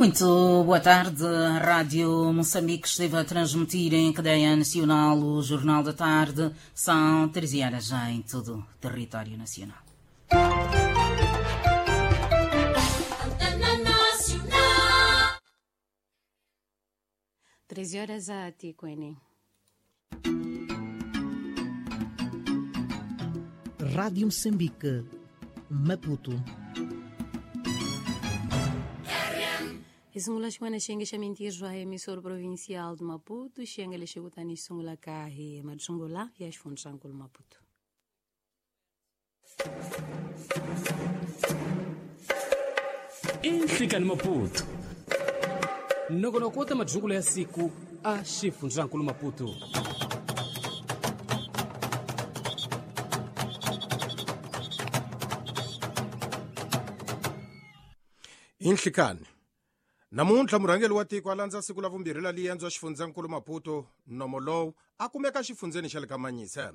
Muito boa tarde. A Rádio Moçambique esteve a transmitir em cadeia nacional o Jornal da Tarde. São 13 horas já em todo o território nacional. Antena Nacional. 13 horas a Ticuene. Rádio Moçambique, Maputo. Isungula xin'wana xiyenge xa mintirho a emissora provincial de Maputo, xiyenge lexi kutani xi sungulaka hi matsungula ya xifundzankulu Maputo. Inhlikani Maputo nongonoko wa ta madzungulo ya siku a xifundzankulu Maputo. Inhlikani namuntlha murhangeri wa tiko a landza siku la vumbirhi la liendzo xifundzankulu Maputo nomo lowu a kumeka xifundzeni xa le ka Manyisa.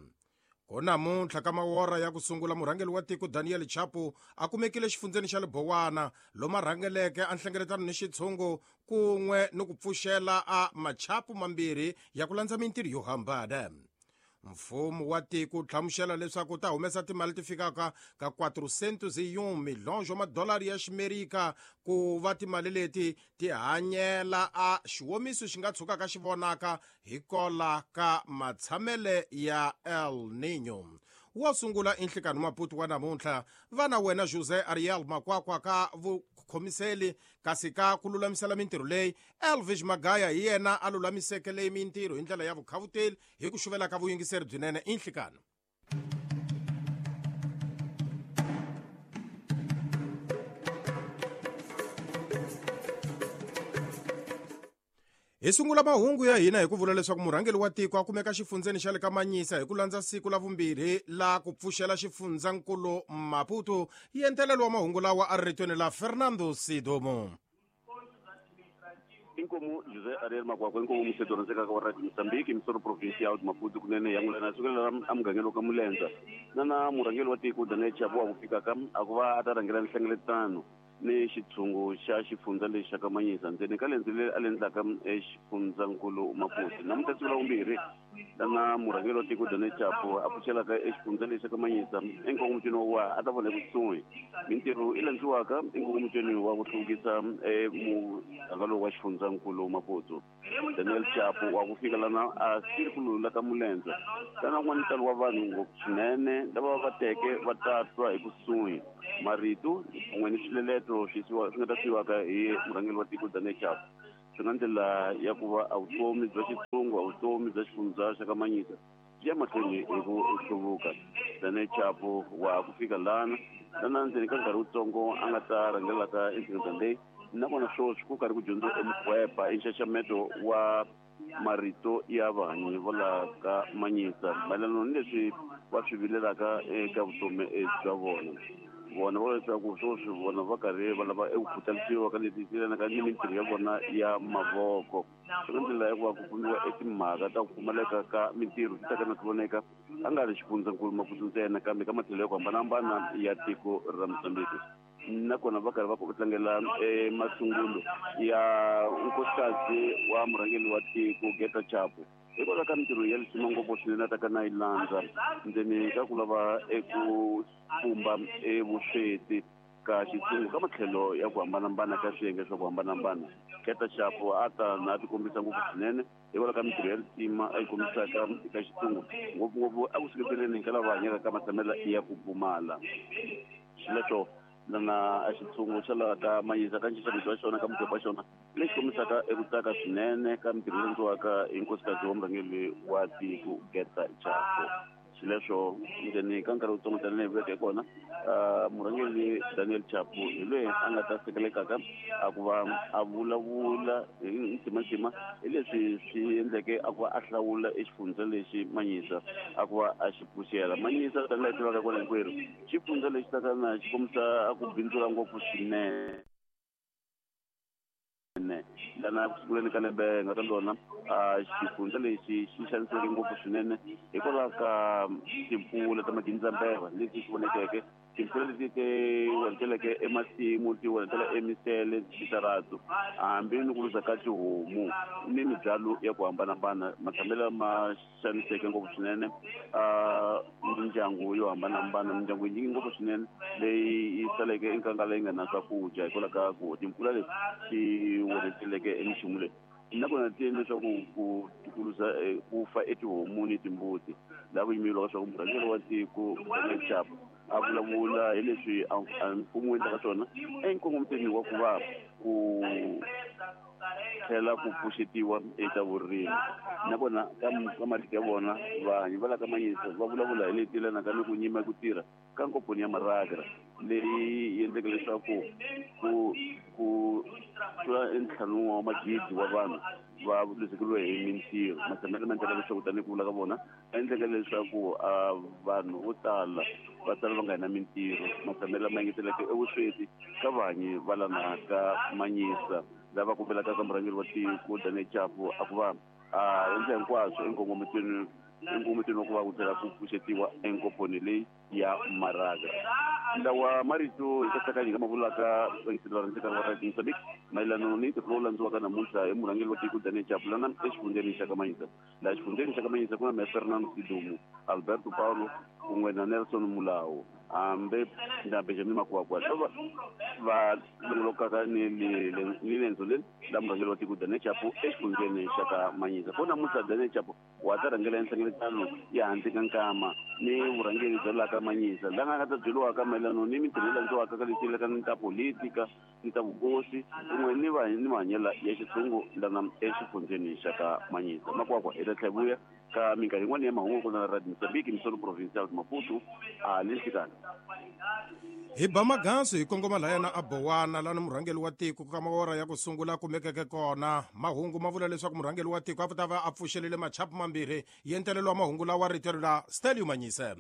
Ko namuntlha ka mawora ya ku sungula murhangeri wa tiko Daniel Chapo a kumekile xifundzeni xa le Bowana lomu a rhangeleke a nhlengeletano ni xitshungu kun'we ni ku pfuxela a machapu mambirhi ya ku landza mintirho yo hambana. Mfumo wa tiko hlamusela leswaku ta humesa timali ti fikaka ka 401 milhonjo madolari ya ximerika ku va timali leti ti hanyela a xiwomiso xi nga tshukaka xi vonaka hi kola ka matshamele ya El Niño. Wo sungula inhlikani Maputo wa namuntlha vana wena José Ariel Makwakwa ka vukhomiseli kasi ka ku lulamisela mintirho leyi Elvis Magaya hi yena a lulamiseke leyi mintirho hi ndlela ya vukhavuteli hi ku xuvela ka vuyingiseri byinene inhlikani. Hi sungula mahungu ya hina hi ku vula leswaku murhangeri wa tiko a kumeka xifundzeni xa le ka Manyisa hi ku landza siku la vumbirhi la ku pfuxela xifundzankulu Maputo. Yentelelo wa mahungu lawa a ri ritweni la Fernando Sidomo. Inkomu José Ariel Makwakwa inkomu museto rhandzekaka wa Radio Mozambique emisoro provincial de Maputo kunene ya n'wina sukela emugangeni wa ka Mulenza na na murhangeri wa tiko Daniel Chapo wa ku fikaka a ku va a ta rhangela nhlengeletano ni xitshungu xa xifundza lexi xa ka Manyisa ndzeni ka lendzo leri a le endlaka exifundzankulu Maputo. Namuntlha siku la vumbirhi lana murhangeri wa tiko Daniel Chapo a pfuxelaka exifundza lexi xa ka Manyisa enkongomitweni wa a ta vona ekusuhi mintirho i landziwaka enkongomitweni wa ku hluvukisa muganga lowu wa xifundzankulu Maputo. Daniel Chapo wa ku fika lana a sirikulu la ka Mulenza lana kun'wana ntalo wa vanhu ngopfu swinene lava va teke va ta twa hi kusuhi marito kun'we ni swileleto swi nga ta siyiwaka hi murhangeri wa tiko Daniel Chapo. Swi nga ndlela ya ku va a vutomi bya xitshungu a vutomi bya xifundza xa ka Manyisa byi ya mahlweni hi ku hluvuka. Daniel Chapo wa ku fika lana lana ndzeni ka nkarhi wutsongo a nga ta rhangelaka enhlengeletano leyi nakona sweswi ku karhi ku dyondziwa emukhwepa i nxaxameto wa marito ya vahanyi va la ka Manyisa mayelana ni leswi va swi vilelaka eka vutomi bya vona. Vona va leswaku sweswi vona va karhi va lava eku khutalisiwa ka leswi yelanaka ni mintirho ya vona ya mavoko. Swi nga ndlela ya ku va ku kumiwa etimhaka ta ku pfumaleka ka mintirho ti taka na ti voneka a nga ri xifundzankulu Maputo ntsena kambe ka matlhelo ya ku hambanahambana ya tiko ra Mozambique. Nakona va karhi va tlangela masungulo ya nkosikazi wa murhangeri wa tiko Geta Chapo hikwalaho ka mintirho ya lisima ngopfu swinene a taka na yi landza ndzeni ka ku lava eku pfumba evusweti ka xitshungu ka matlhelo ya ku hambanahambana ka swiyenge swa ku hambanahambana. Geta Chapo a ta na a tikombisa ngopfu swinene hikwalaho ka mintirho ya lisima a yi kombisaka eka xitshungu ngopfungopfu a ku seketeleni ka lava hanyaka ka matshamelo ya ku pfumala. Xileswo lana a xitshungu xa laha ka Manyisa ka nxaxameto wa xona ka mugwepo wa xona lexi kombisaka eku tsaka swinene ka mintirho leyi endliwaka hi nkosikazi wa murhangeri wa tiko Geta Chapo. Xileswo ndzeni ka nkarhi wutsongo tanihi vuleke kona murhangeri Daniel Chapo hi loyi a nga ta sekelekaka a ku va a vulavula hi ntimantima hi leswi swi endleke a ku va a hlawula exifundza lexi Manyisa a ku va a xi pfuxela. Manyisa tanihi laha tivaka kona hinkwerhu xifundza lexi taka na xi kombisa a ku bindzula ngopfu swinene lana ku sunguleni ka lembe nga ka lona xifundza lexi xi xanisiweke ngopfu swinene hikwalaho ka timpfula ta magindzambeva leti xi vonekeke Timpfula leti ti onheteleke emasimu, ti onhetela emisele, switaratu, hambi ni ku luza ka tihomu ni mibyalo ya ku hambanahambana. Matshamelo ma xaniseke ngopfu swinene mindyangu yo hambanahambana, mindyangu yinyingi ngopfu swinene leyi yi saleke enkangala yi nga na swakudya hikwalaho ka ku timpfula leti ti onheteleke eminchumu leyi. Nakona ti endle leswaku ku tikuluza ku fa etihomu ni timbuti, laha ku yimeriwaka leswaku murhangeri wa tiko Daniel Chapo a vulavula hi leswi mfumo wu endlaka swona enkongomiseni wa ku va ku tlhela ku pfuxetiwa eka vurimi. Nakona ka marito ya vona, vanhu va la ka Manyisa va vulavula hi leti yelanaka ni ku nyima ku tirha ka nkomponi ya Maragra leyi endleke leswaku ku tlula ntlhanu wa magidi wa vanhu va luzekeriwe hi mintirho. Matshamelo ma endlaka leswaku, tanihi ku vula ka vona, endleke leswaku vanhu vo tala va sala va nga na mintirho. Matshamelo ma engeteleke evusweti ka vanyi va lana ka Manyisa, lava kombelaka ka murhangeri wa tiko Daniel Chapo a ku va a endla hinkwaswo enkongometweni wa ku va ku tlhela ku pfuxetiwa enkomponi leyi ya Maraga. Lawa marito hi katsakanya ka mavulaka vayingiseri va rhandza wa Radio Mozambique mayelana ni ntirho lowu landziwaka namuntlha hi murhangeri wa tiko Daniel Chapo lana exifundzheni xa ka Manyisa. Laha xifundzheni xa ka Manyisa ku na Meya Fernando Sidumo, Alberto Paulo kun'we na Nelson Mulawo, hambi na Benjamin Makwakwa, lava va longolokaka ni lendzo leri la murhangeri wa tiko Daniel Chapo exifundzheni xa ka Manyisa. Ko namuntlha Daniel Chapo wa ta rhangela nhlengeletano ya handle ka nkama ni vurhangeri bya laha ka Manyisa, laha nga ta byeriwaka mayelana ni mintirho leyi landziwaka ka leti ka ni ta politika ni ta vukosi kun'we ni ni mahanyelo ya xitshungu lana exifundzheni xa ka Manyisa. Makwakwa hi ta tlhela vuya ka minkarhi yin'wana ya mahungu ku na Radio Mozambique, Misolo Provincial de Maputo, a le nhlikani. Hi ba magansu hi kongoma laya na Abowana lana murhangeri wa tiko ka mawora ya ku sungula kumekeke kona. Mahungu ma vula leswaku murhangeri wa tiko a ta va a pfuxelele machapu mambirhi ya ntelelo wa mahungu lawa rito la Stelio Manyise.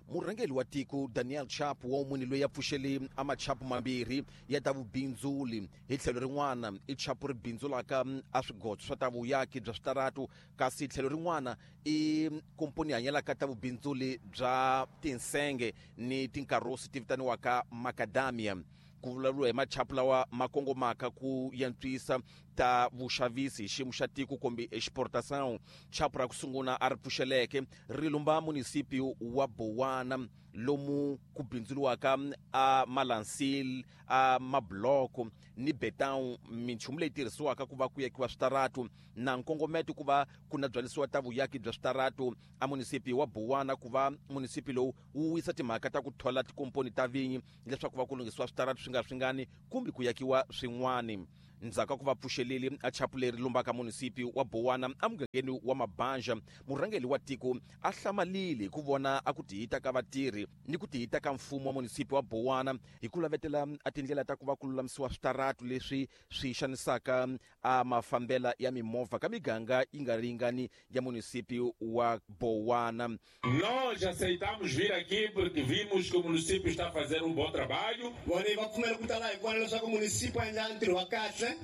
Murhangeri wa tiko Daniel Chapo wa munhu loyi a pfuxele a machapu mambirhi ya ta vubindzuli. Hi tlhelo rin'wana i chapu ri bindzulaka a swigotso swa ta vuyaki bya switaratu, kasi tlhelo rin'wana i komponi hanyelaka ta vubindzuli bya tinsenge ni tinkarosi ti vitaniwaka macadamia. Ku vulavuriwa hi machapu lawa ma kongomaka ku yantswisa ta vuxavisi hi xiyimo xa tiko kumbe exportação. Chapu ra ku sungula a ri pfuxeleke ri lumba munisipi wa Bowana, lomu ku bindzuriwaka a malansil, a mabloko ni beton, minchumu leyi tirhisiwaka ku va ku yakiwa switaratu, na nkongometo ku va ku na byalisiwa ta vuyaki bya switaratu a munisipi wa Bowana, ku va munisipi lowu wu wisa timhaka ta ku thola tikomponi ta vinyi leswaku va ku lunghisiwa switaratu swi nga swingani kumbe ku yakiwa swin'wani. Ndzhaku ka ku va pfuxeleli a chapu leri lumbaka munisipi wa Bowana emugangeni wa Mabanja, murhangeri wa tiko a hlamalile hi ku vona a ku tihita ka vatirhi ni ku tihita ka mfumo wa munisipi wa Bowana hi ku lavetela a tindlela ta ku va ku lulamisiwa switaratu leswi swi xanisaka a mafambela ya mimovha ka miganga yi nga ringani ya munisipi wa Bowana. Nós aceitamos vir aqui porque vimos que o município está a fazer um bom trabalho.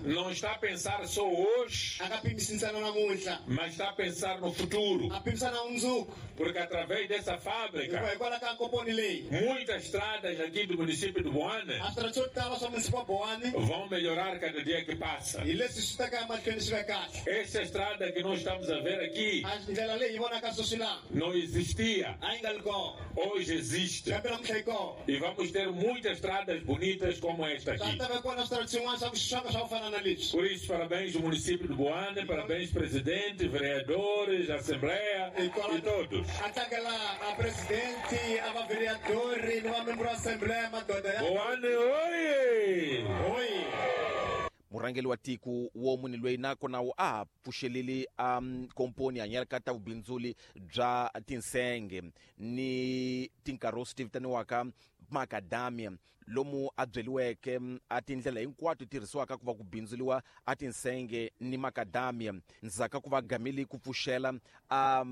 Não está a pensar só hoje, mas está a pensar no futuro. Porque através dessa fábrica, muitas estradas aqui do município de Boane vão melhorar cada dia que passa. Essa estrada que nós estamos a ver aqui não existia. Hoje existe. E vamos ter muitas estradas bonitas como esta aqui. Por isso, parabéns ao município de Boane, parabéns presidente, vereadores, assembleia e todos. Boane, oi! Oi! Murhangeri wa tiko wo munhu loyi nakona wu a pfuxelele a komponi hanyelaka ta vubindzuli bya tinsenge ni tinkarosi ti vitaniwaka macadamia, lomu a byeliweke a tindlela hinkwato tirhisiwaka ku va ku bindzuliwa a tinsenge ni macadamia. Ndzhaku ku va gamile ku pfuxela a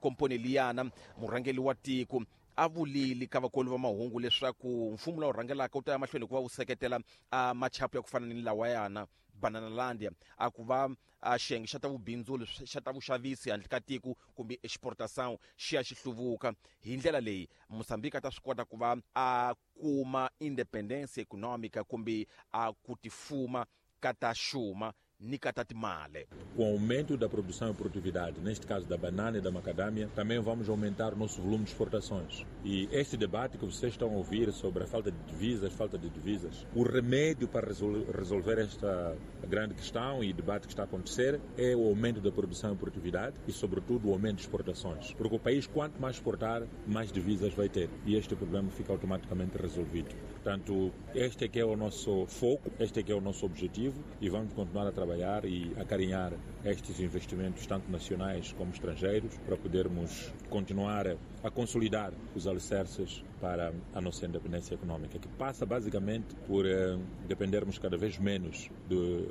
komponi liyana, murhangeri wa tiko a vulile ka vakoli va mahungu leswaku mfumo lowu rhangelaka wu ta ya mahlweni ku va wu seketela a machapu ya ku fana ni lawayana. Bananalandia a ku va a xiyenge xa ta vubindzuli xa ta vuxavisi handle ka tiko kumbe exportação xi ya xi hluvuka. Hi ndlela leyi Mozambique a ta swi kota ku va a kuma independência econômica kumbe a ku tifuma ka ta xuma ni ka ta timali. Com o aumento da produção e produtividade, neste caso da banana e da macadâmia, também vamos aumentar o nosso volume de exportações. E este debate que vocês estão a ouvir sobre a falta de divisas, o remédio para resolver esta grande questão e debate que está a acontecer é o aumento da produção e produtividade e, sobretudo, o aumento de exportações. Porque o país, quanto mais exportar, mais divisas vai ter. E este problema fica automaticamente resolvido. Portanto, este é que é o nosso foco, este é que é o nosso objetivo e vamos continuar a trabalhar e acarinhar estes investimentos, tanto nacionais como estrangeiros, para podermos continuar a consolidar os alicerces para a nossa independência econômica, que passa basicamente por dependermos cada vez menos de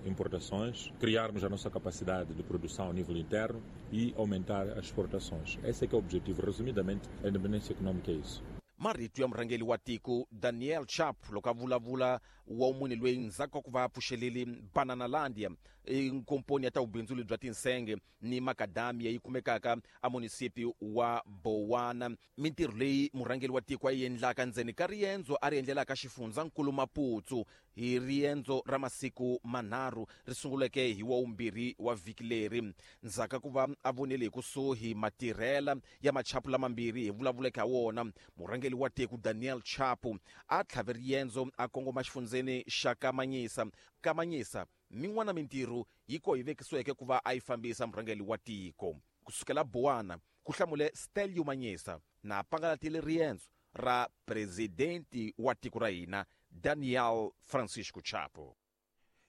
importações, criarmos a nossa capacidade de produção a nível interno e aumentar as exportações. Esse é que é o objetivo. Resumidamente, a independência econômica é isso. Marito ya murhangeri wa tiko Daniel Chapo loko a vulavula wa munhu loyi ndzhaku ka ku va a pfuxelele Bananalandia, nkomponi ya ta vubindzuli bya tinsenge ni makadamia yi kumekaka a munisipi wa Bowana. Mintirho leyi murhangeri wa tiko a yi endlaka ndzeni ka riendzo a ri endlelaka xifundzankulu Maputo hi riendzo ra masiku manharhu ri sunguleke hi wa vumbirhi wa vhiki leri. Ndzhaku ka ku va a vonile hi kusuhi matirhela ya machapu lamambirhi hi vulavuleke ha wona, murhangeri wa tiko Daniel Chapo a tlhave riendzo a kongoma xifundzeni xa Kamanyisa. Kamanyisa min'wana mintirho yi ko yi vekisiweke ku va a yi fambisa murhangeri wa tiko. Kusukela Bowana ku hlamule Stelio Manyisa na pangalatile riendzo ra presidenti wa tiko ra hina Daniel Francisco Chapo.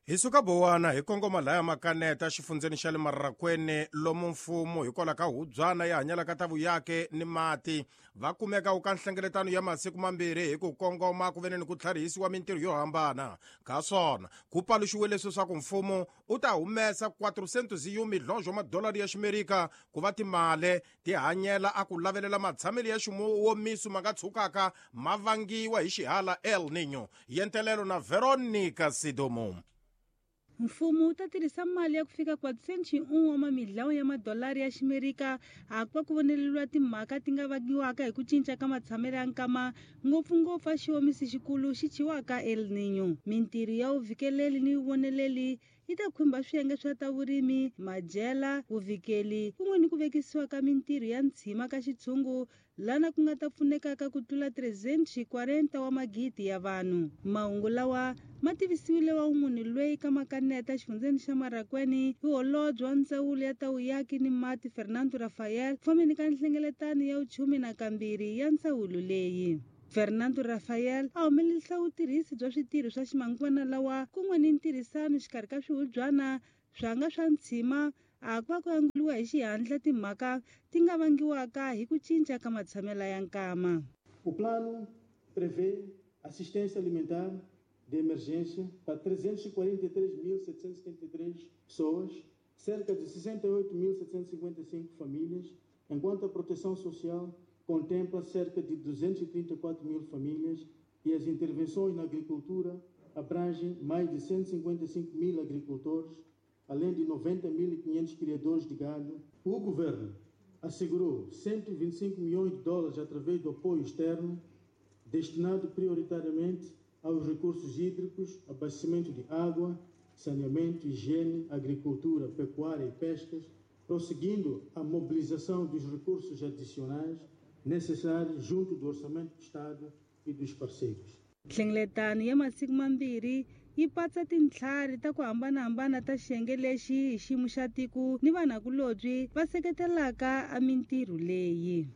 Hi suka Bowana hi kongoma laya Makaneta xifundzeni xa le Marrakwene, lomu mfumo hikwalaho ka hubyana ya hanyalaka ta vuyake ni mati va kumeka eka nhlengeletano ya masiku mambirhi hi ku kongoma ku vene ni ku tlharihisiwa mintirho yo hambana. Ka swona ku paluxiwe leswaku mfumo u ta humesa 400 milhonjo wa madolari ya Ximerika ku va timali ti hanyela a ku lavelela matshamelo ya ximuwomiso ma nga tshukaka ma vangiwa hi xihala El Niño. Yentelelo na Veronica Sidomo. Mfumo wu ta tirhisa mali ya ku fika 401 wa mamidlawo ya madolari ya Ximerika a ku va ku voneleriwa timhaka ti nga vangiwaka hi ku cinca ka matshamelo ya nkama, ngopfungopfu a xiomisi xikulu xi chiwaka El Niño. Mintirho ya vuvikeleli ni vuvoneleli yi ta khumba swiyenge swa ta vurimi, madyela, vuvikeli kun'we ni ku vekisiwa ka mintirho ya ntshima ka xitshungu lana ku nga ta pfunekaka ku tlula 340 wa magidi ya vanhu. Mahungu lawa ma tivisiwile wa munhu loyi ka Makaneta xifundzeni xa Marrakwene hi holobye wa ndzawulo ya ta vuyaki ni mati Fernando Rafael fambeni ka nhlengeletano ya vuchumi nakambirhi ya ndzawulo leyi. Fernando Rafael a humelerisa vutirhisi bya switirho swa ximanguvana lawa kun'we ni ntirhisano xikarhi ka swihubyana swanga swa ntshima a ku va ku anguliwa hi xihatla timhaka ti nga vangiwaka hi ku cinca ka matshamelo ya nkama. O plano prevê assistência alimentar de emergência para 343.773 pessoas, cerca de 68.755 famílias, enquanto a proteção social contempla cerca de 234 mil famílias e as intervenções na agricultura abrangem mais de 155 mil agricultores, além de 90.500 criadores de gado. O governo assegurou 125 milhões de dólares através do apoio externo, destinado prioritariamente aos recursos hídricos, abastecimento de água, saneamento, higiene, agricultura, pecuária e pescas, prosseguindo a mobilização dos recursos adicionais necessários junto do Orçamento do Estado e dos parceiros. Nhlengeletano ya masiku mambirhi yi patsa tintlhari ta ku hambanahambana ta xiyenge lexi hi xiyimo xa tiko ni vanhakulobye va seketelaka a mintirho leyi.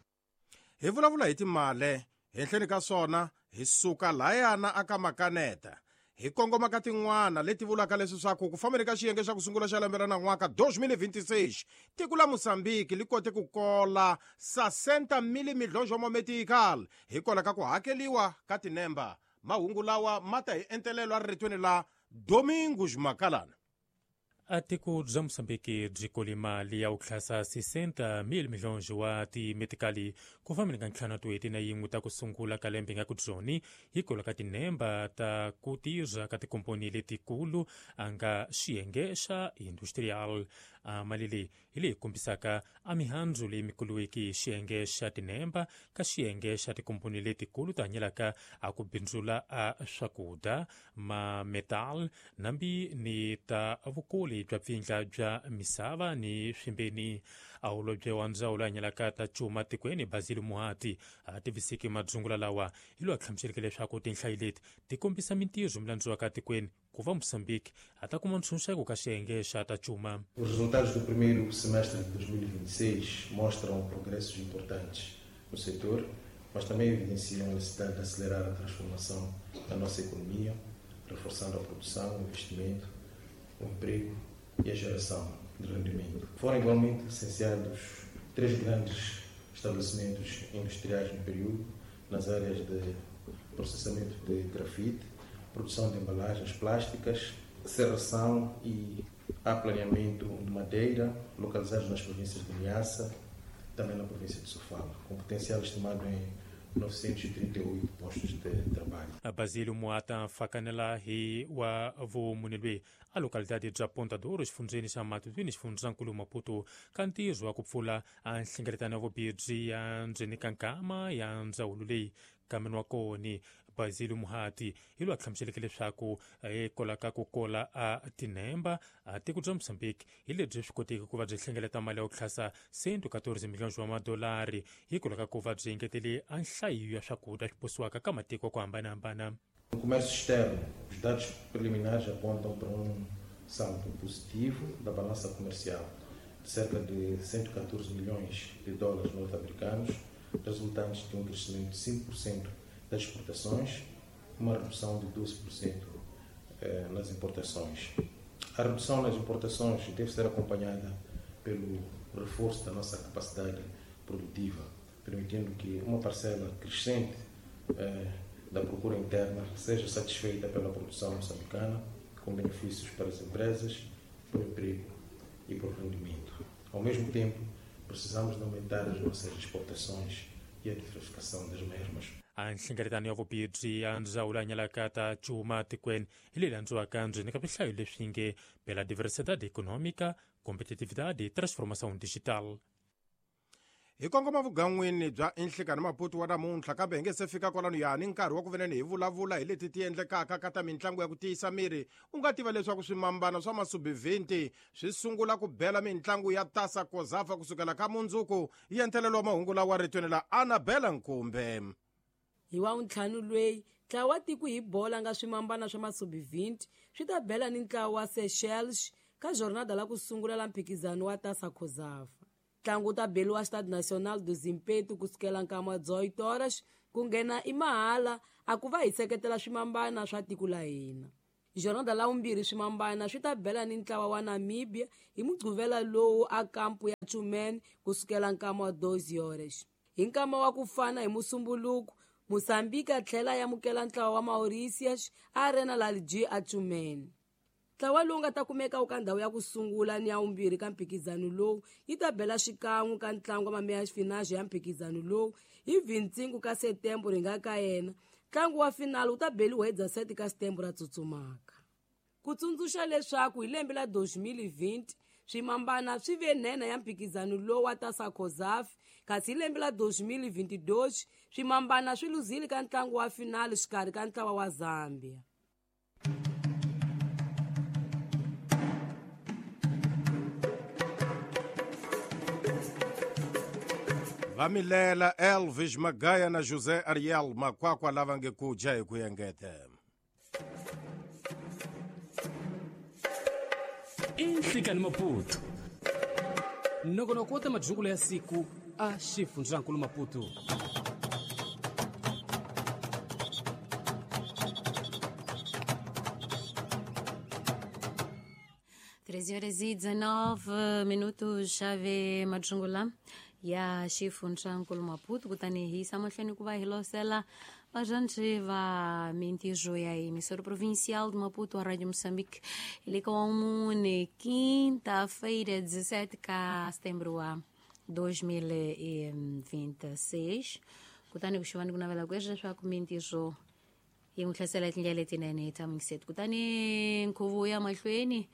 Hi vulavula hi timali henhleni ka swona hi suka layana aka Makaneta hi kongoma ka tin'wana leti vulaka leswaku ku fambeni ka xiyenge xa ku sungula xa lembe ra nan'waka 2026 tiko la Mozambique li kote ku kola 60 milhonjo wa metical hikwalaho ka ku hakeliwa ka tinemba. Mahungu lawa ma ta hi entelelo a riritweni la Domingos Makalana. A tiko bya Moçambique byi kole mali ya ku tlhasa 60 mil milhões wa timetikali ku fambeni ka ntlhanu toeti na yin'we ta ku sungula ka lembe nga ku byoni hikwalaho ka tinemba ta ku tirha ka tikomponi letikulu a nga xiyenge xa industrial. A mali leyi hi leyi kombisaka a mihandzu leyi mikuluwiki xiyenge xa tinemba ka xiyenge xa tikomponi letikulu ti hanyelaka a ku bindzula a swakudya ma metal nambi ni ta vukuli bya pfindla bya misava ni swimbeni. A holobye wa ndzawulo hanyelaka ta cuma tikweni Basil Muhati a tivisiki madzungula lawa hi loyi a hlamuseleke leswaku tinhlayo leti ti kombisa mintirho milandziwaka tikweni ku va Moçambique a ta kuma ntshunxeko ka xiyenge xa ta cuma. Os resultados do primeiro semestre de 2026 mostram progressos importantes no setor, mas também evidenciam a necessidade de acelerar a transformação da nossa economia, reforçando a produção, o investimento, o emprego e a geração de rendimento. Foram igualmente licenciados 3 grandes estabelecimentos industriais no período, nas áreas de processamento de grafite, produção de embalagens plásticas, serração e aplaneamento de madeira, localizados nas províncias de Niassa, também na província de Sofala, com potencial estimado em 938 postos de trabalho. Basílio Muata fakanela hi wa vumunelwe a localidade bya Ponta do Ouro xifundzheni xa Matutuini xifundzankulu Maputo ka ntirho wa ku pfula a nhlengeletano ya vubirhi ya ndzeni ka nkama ya ndzawulo leyi kameni wa koni. Basílio Muhati hi loyi a hlamuseleke leswaku hikwalaho ka ku kola a tinemba a tiko bya Moçambique hi lebyi swi koteki ku va byi hlengeleta mali ya ku tlhasa 114 milhões wa madolari hikwalaho ka ku va byi engetele a nhlayo ya swakudya swi posiwaka ka matiko ku hambanahambana. No comércio externo, os dados preliminares apontam para saldo positivo da balança comercial de cerca de 114 milhões de dólares norte-americanos, resultantes de um crescimento de 5% das exportações, uma redução de 12% nas importações. A redução nas importações deve ser acompanhada pelo reforço da nossa capacidade produtiva, permitindo que uma parcela crescente da procura interna seja satisfeita pela produção moçambicana, com benefícios para as empresas, para o emprego e para o rendimento. Ao mesmo tempo, precisamos de aumentar as nossas exportações e a diversificação das mesmas. A nhlengeletano ya vubirhi ya ndzawulo ya nyalaka ta cuma tikweni hi leyi landziwaka ndzeni ka swihlayo leswi nge pela diversidade econômica, competitividade e transformação digital. Hi kongoma vugan'wini bya Inhlikani Maputo wa namuntlha, kambe hi nge se fika kwalano yani nkarhi wa ku veneni hi vulavula hi leti ti endlekaka ka ta mitlangu ya ku tiyisa miri. U nga tiva leswaku swimambana swa masubi-20 swi sungula ku bela mitlangu ya Tasa Kozafa kusukela ka mundzuku. Yi entelelo wa mahungu lawa ritweni la Annabella Nkumbe. Hi wa ntlhanu lweyi ntlawa wa tiko hi bola nga swimambana swa masubi-20 swi ta bela ni ntlawa wa Seychelles ka jornada la ku sungula la mphikizano wa Tasa Kozafa. Ntlangu wu ta beliwa Stade Nacional do Zimpeto kusukela nkama wa 18 horas ku nghena i mahala a ku va hi seketela swimambana swa tiko la hina. Jornada la vumbirhi swimambana swi ta bela ni ntlawa wa Namibia hi mugqivela lowu a kampu ya Tshumene kusukela nkama wa 12 horas. Hi nkama wa ku fana hi Musumbuluku, Moçambique a tlhela ya amukela ntlawa wa Mauritius a Arena Lalji a Tshumene. Ntlawa lowu nga ta kumeka wu ka ndhawu ya ku sungula ni ya vumbirhi ka mphikizano lowu yi ta bela xikan'we ka ntlangu wa mameya finale ya mphikizano lowu hi 25 ka Setembro ri nga ka yena. Ntlangu wa finale wu ta beliwa hi 17 ka Setembro ra tsutsumaka. Ku tsundzuxa leswaku hi lembe la 2020 swimambana swi ve nhenha ya mphikizano lowu wa Tasa Kozafa, kasi hi lembe la 2022 swimambana swi luzile ka ntlangu wa finale xikarhi ka ntlawa wa Zambia. Vamilela Elvis Magaya na José Ariel Makwakwa lava nge ku dya hi ku engete. Inhlikani Maputo. Nongonoko wa ta madyukulo ya siku a xifundzankulu Maputo. Horas e 19 minutos, chave Madjungula ya xifundzankulu Maputo. Kutani hi yisa mahlweni ku va hi losela Vajante va mintirho ya emissora provincial de Maputo, a Rádio Moçambique, ele com quinta-feira, 17 de setembro a 2026. Kutani kuxivani ku navela ku leswaku mintirho yi n'wi hlasela tindlela letinene tshamiseti. Kutani nkhuvo ya mahlweni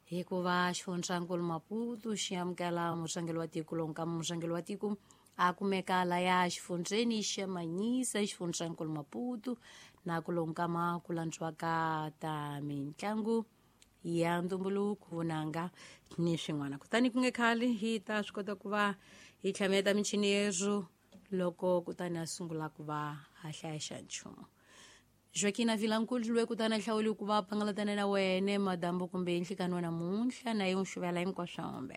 hikuva xifundzankulu Maputo xi amukela murhangeri wa tiko lonka murhangeri wa tiko a kumeka laya xifundzeni xa Manyisa xifundzankulu Maputo na ku lonkama ku landziwaka ta mitlangu ya ntumbuluko vunanga ni swin'wana. Kutani ku nge khale hi ta swi kota ku va hi tlhameta michini yerhu loko kutani a sungula ku va a hlaya xa nchumu. Joaquina Vilankulu loyi kutani a hlawuli ku va pangalatana na wene madambu kumbe nhlikani wa namuntlha na ye n'wi xuvela hinkwaswo.